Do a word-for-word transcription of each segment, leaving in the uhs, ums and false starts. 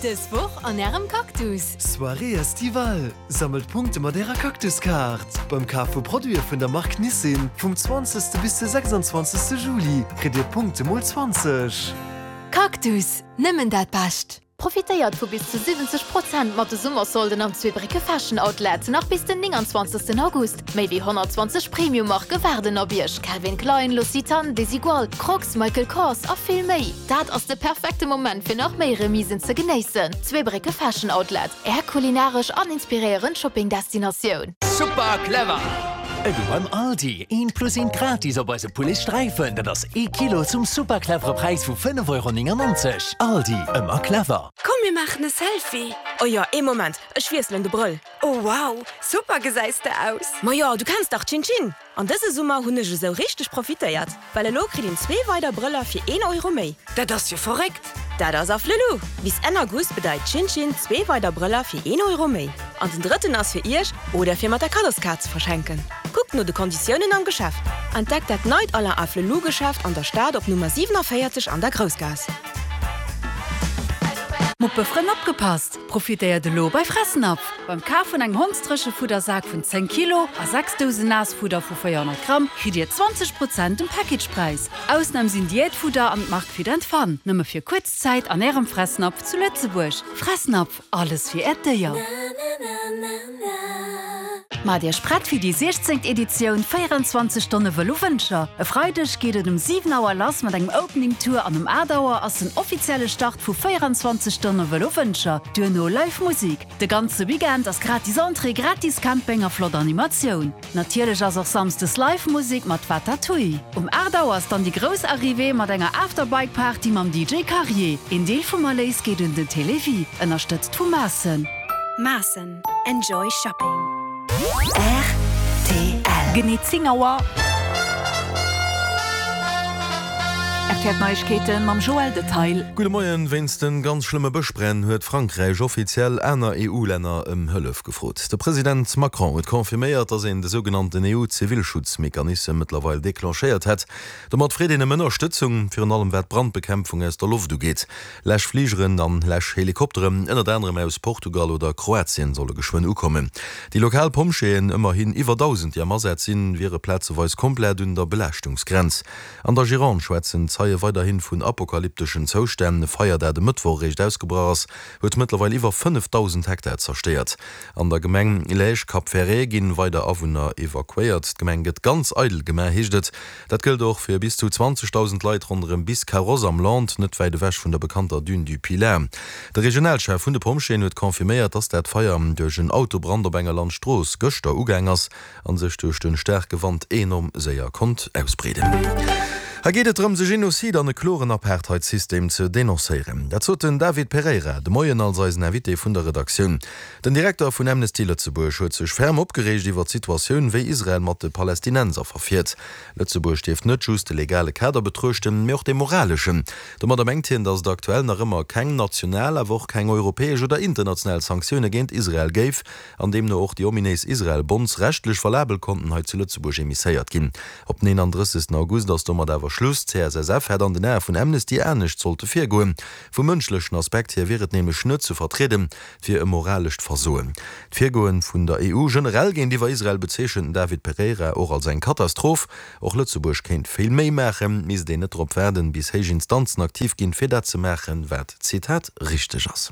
Dës Woch an Ärem Cactus. Soirée estivale, Sammelt Punkte mat Ärer Cactus-Kaart! Beim Kaf vu Produite vun der Mark Nissin vum zwanzegste bis de sechsundzwanzegste Juli kritt Dir Punkte mol zwanzeg. Cactus, nëmmen dat Bescht! Profitéiert vu bis zu siwwenzeg Prozent mat de Summersolden am Zweebrécke Fashion Outlet nach bis den nénganzwanzegsten August. Méi wéi honnertzwanzeg Premium-Marke waarden op Iech, Calvin Klein, L'Occitane, Desigual, Crocs, Michael Kors a vill méi. Dat ass de perfekte Moment fir nach méi Remisen ze genéissen. Zweebrécke Fashion Outlet, Är kulinaresch an inspiréierend Shopping-Destinatioun. Super clever! Elo beim Aldi, eent plus eent gratis op eise Pouletsträifen, dat ass ee Kilo zum super clevere Präis vu fënnef Euro néngannonzeg. Aldi, ëmmer clever! Komm mir maachen e Selfie! Oh jo, ee Moment, ech wiesselen de Brëll. Oh wow, super gesäis de aus! Ma jo, du kenns dach Chin Chin! An dëse Summer hunn ech esou richteg profitéiert, well elo kritt een zwee weider Brëller fir een Euro méi. Dat ass jo verréckt! Dat ass Afflelou! Bis Enn August bedeit Chin Chin zwee weider Brëller fir een Euro méi. An den drëtten ass fir iech oder fir mat der Kaddoskaart ze verschenken. Kuckt no de Konditiounen am Geschäft. Entdeckt dat neit Alain Afflelou Geschäft an der Stad op Nummer siewenundvierzig an der Groussgaass. Muppefrënn opgepasst! Profitéiert elo bei Fressnapf! Beim Kaf vun engem Hondsdréchefuddersak vun zéng Kilo a sechs Dousen Naassfudder vu véierhonnert Gramm kritt Dir zwanzeg Prozent um Packagepräis. Ausnam sinn Diätfudder an d'Mark Fit and Fun. Nëmme fir kuerz Zäit an Ärem Fressnapf zu Lëtzebuerg. Fressnapf, alles fir Äert Déier. Maacht Iech prett fir déi siechzéngt Editioun véierundzwanzeg Stonne Vëlo Wëntger. E Freideg geet et um siwen Auer lass mat engem Opening Tour an um aacht Auer ass den offizielle Start vu véierundzwanzeg Stonne Vëlo Wëntger. Duerno Live Musik. De ganze Weekend ass gratis Entrée, gratis Camping a flott Animatioun. Natierlech ass och samsdes Live Musik mat Watatui. Um aacht Auer ass dann déi grouss Arrivée mat enger After-Bike Party mam D J Carrier. Een Deel vum Erléis geet un den Télévie, ënnerstëtzt vu Maassen. Maassen, enjoy shopping. R T L. Genee zéng Auer. R T L Neiegkeeten mam Joël Detail. Gudde Moien. Wéinst de ganz schlëmme Bëschbränn huet Frankräich offiziell aner E U-Länner ëm Hëllef gefrot. De President Macron huet confirméiert, datt een de sougenannten E U-Zivilschutzmechanismus mëttlerweil declenchéiert hätt. Domat freet een ëm Ënnerstëtzung, virun allem wat d'Brandbekämpfung aus der Loft ugeet. Läschfligeren an Läschhelikopteren, ënnert anerem aus Portugal oder Kroatien, solle geschwënn ukommen. Déi lokal Pompjeeën, ëmmerhin iwwer dausend, déi am Asaz sinn, wiere plazeweis komplett un der Belaaschtungsgrenz. An der Gironde schwätzen Zeie weiderhin vun apokalypteschen Zoustänn. E Feier, dat e Mëttwoch eréischt ausgebrach ass, huet mëttlerweil iwwer fënnefdausend Hektar zerstéiert. An der Gemeng Lège-Cap-Ferret ginn weider Awunner evakuéiert. D'Gemeng gëtt ganz eidel gemaach, heescht et. Dat gëllt och fir bis zu zwanzegdausend Leit ronderëm Biscarrosse am Landes, net wäit ewech vun der bekannter Dune du Pilat. De Regionalchef vun de Pompjeeën huet confirméiert, dass dat Feier duerch en Autobrand op enger Landstrooss gëschter ugaang ass an sech duerch de staarke Wand enorm séier konnt ausbreeden. Hei geet et drëms, e Genozid an e kloren Apartheidsystem ze denoncéieren. Dat sot den David Pereira de Moien als eisen Invité vun der Redaktioun. Den Direkter vun Amnesty Lëtzebuerg huet sech ferm opgereegt iwwer d'Situatioun, wéi Israel mat de Palästinenser verfiert. Lëtzebuerg dierft net just de legale Kader betruechten, mee och dee moraleschen. Domadder mengt hien, datt et aktuell nach ëmmer keng national, awer och keng europäesch oder international Sanktioune géint Israel géif, an deemno och déi ominéis Israel-Bonds rechtlech valabel konnten hei zu Lëtzebuerg emisséiert ginn. Op den eenandrëssegsten August ass domat awer Schluss. D' C S S F hätt an den Ae vun Amnesty anescht sollte virgoen. Vum mënschlechen Aspekt hier wier et nämlech net ze vertrieden, et wier e moralescht Versoen. D'Virgoen vun der E U generell géintiwwer Israel bezeechent den David Pereira och als eng Katastroph. Och Lëtzebuerg kéint vill méi maachen, misst een net drop waarden, bis héich Instanzen aktiv ginn, fir dat ze maachen, wat, Zitat, richteg ass.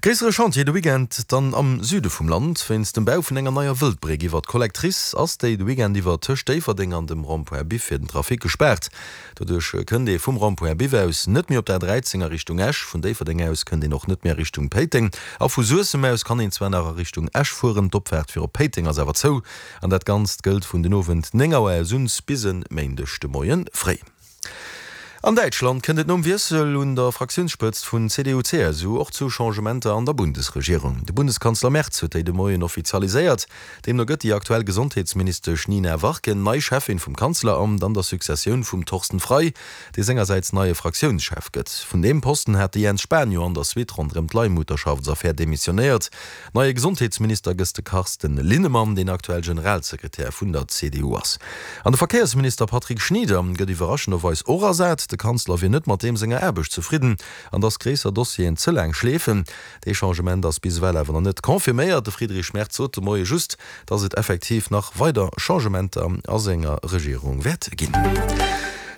Gréissere Chantier de Weekend dann am Süde vum Land. Wéinst dem Bau vun enger neier Wëldbréck iwwer d'Collectrice ass déi de Weekend iwwer tëscht Déifferdeng an dem Rond-point Biff fir den Trafic gespaart. Doduerch kënnt ee vum Rond-point Biff aus net méi op der A dräizéng a Richtung Esch, vun Déifferdeng aus kënnt een och net méi a Richtung Péiteng a vu Suessem aus kann een zwar nach a Richtung Esch fueren, d'Opfaart fir op Péiteng ass awer zou. An dat Ganzt gëllt vun den Owend néng Auer aus un bis e Méindeg de Moie fréi. An Däitschland kënnt et nom Wiessel un der Fraktiounsspëtzt vun C D U C S U och zu Changementer an der Bundesregierung. De Bundeskanzler Merz huet déi de Moien offizialiséiert. Deemno gëtt déi aktuell Gesondheetsministesch Nina Warken nei Cheffin vum Kanzleramt an der Successioun vum Thorsten Frei, dee sengersäits neie Fraktiounschef gëtt. Vun deem Posten hat de Jens Spahn jo an der Suite ronderëm d'Leihmutterschaftsaffär demissionéiert. Neie Gesondheetsminister gëtt de Carsten Linnemann, deen aktuell Generalsekretär vun der C D U ass. An de Verkéiersminister Patrick Schnieder gëtt iwwerraschenderweis och ersat. De Kanzler wier net mat deem senger Aarbecht zefridden an datt gréisser Dossieren ze laang schleefen. Dee Changement ass bis ewell awer nach net confirméiert. De Friedrich Merz sot de Moie just, datt et effektiv nach weider Changementer a senger Regierung wäert ginn.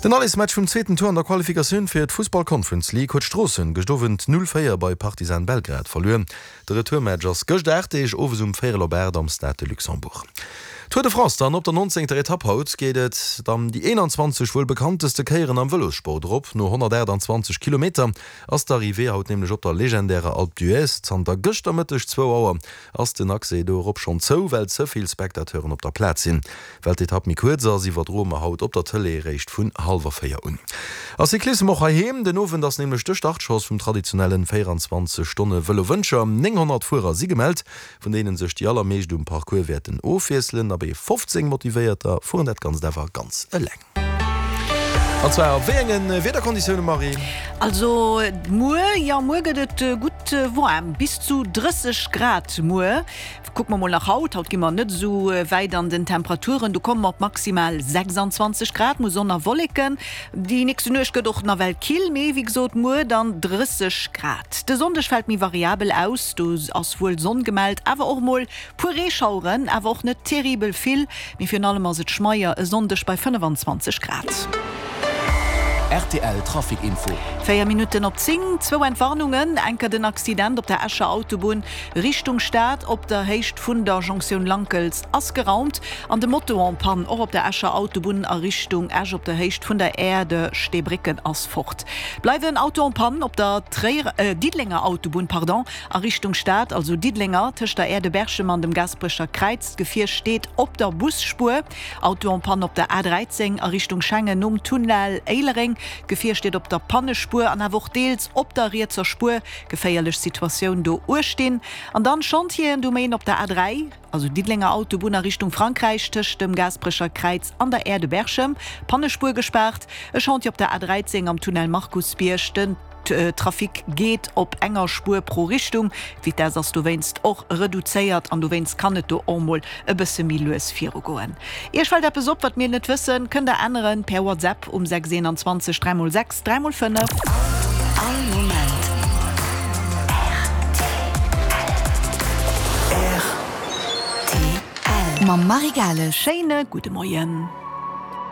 Den Allesmatch vum zweeten Tour an der Qualifikatioun fir d'Fussball Conference League huet Stroossen gëscht Owend null véier bei Partizan Belgrad verluer. De Retourmatch ass gëscht aacht Deeg owes um véierel op aacht am Stade de Luxembourg. Tour de France dann, Op der nonzéngter Etapp haut geet et dann déi eenanzwanzeg wuel bekannteste Kéieren am Vëlossport erop. No honnertaachtanzwanzeg Kilometer ass d'Arrivée haut nämlech op der legendärer Alpe d'Huez. Zanter gëschter Mëtteg zwou Auer ass den Accès do erop schonn zou, well ze vill Spectateuren op der Plaz sinn. Well d'Etapp méi kuerz ass, iwwerdroe mer haut op der Tëlee eréischt vun hallwer véier un. A Cyclissem och heiheem, Den Owend ass nämlech de Startschoss vum traditionellen véieranzwanzeg Stonne Vëlo Wëncher. nénghonnert Fuerer si gemellt, vun deene sech déi allermeescht um Parcours wäerten ofwiesselen. Abee, fofzéng Motivéierter fueren dat Ganzt awer ganz eleng. An zwar a wéi enge Wiederkonditioune, Marie? Also muer, jo muer gëtt et gutt waarm, bis zu drësseg Grad muer. Kucke mer mol nach haut, haut gi mer net esou wäit an den Temperaturen, do komme mer op maximal sechsandzwanzeg Grad, mol Sonn a Wolleken. Déi nächste Nuecht gëtt och nawell kill, mee wéi gesot muer dann drësseg Grad. De Sonndeg fält méi variabel aus, do ass wuel Sonn gemellt, awer och mol puer Reeschaueren, awer och net terribel vill, mee virun allem ass et schmeier e Sonndeg bei fënnefan-zwanzeg Grad. Rtl Trafic Info. Véier Minutten op zéng, zwou Entwarnungen, Enker den Accident op der Escher Autobunn Richtung Stad op der Héicht vun der Jonktioun Lankels ass geraumt an de Moto en panne och op der Escher Autobunn a Richtung Esch op der Héicht vun der Aire de Steebrécken ass fort. Bleiwen Auto en panne op der Tréierer, Diddelenger Autobunn, pardon, a Richtung Stad, also Diddelenger, tëscht der Aire de Berchem an dem Gaasperecher Kräiz. D'Gefier steet op der Busspuer. Auto en panne op der A dräizéng a Richtung Schengen nom Tunnel Éilereng. D'Gefier steet op der Pannespuer an awer och deels op der rietser Spuer. Geféierlech Situatioun do uechtinn. An dann Chantieren do méi op der A dräi, also Diddelenger Autobunn a Richtung Frankräich, tëscht dem Gaasperecher Kräiz an der Aire de Berchem, Pannespuer gespaart. E Chantier op der A dräizéng am Tunnel Markusbierg. Den Trafic geet op enger Spuer pro Richtung. D'Vitess ass dowéinst och reduzéiert an dowéinst kann et do och mol e bësse méi lues virugoen. Iech fält eppes op, wat mir net wëssen? Kënnt der änneren per WhatsApp um sechs eenanzwanzeg dräi mol sechs dräi mol fënnef. All Moment rtl. Mam Marie Gales. Schéine gudde Moien.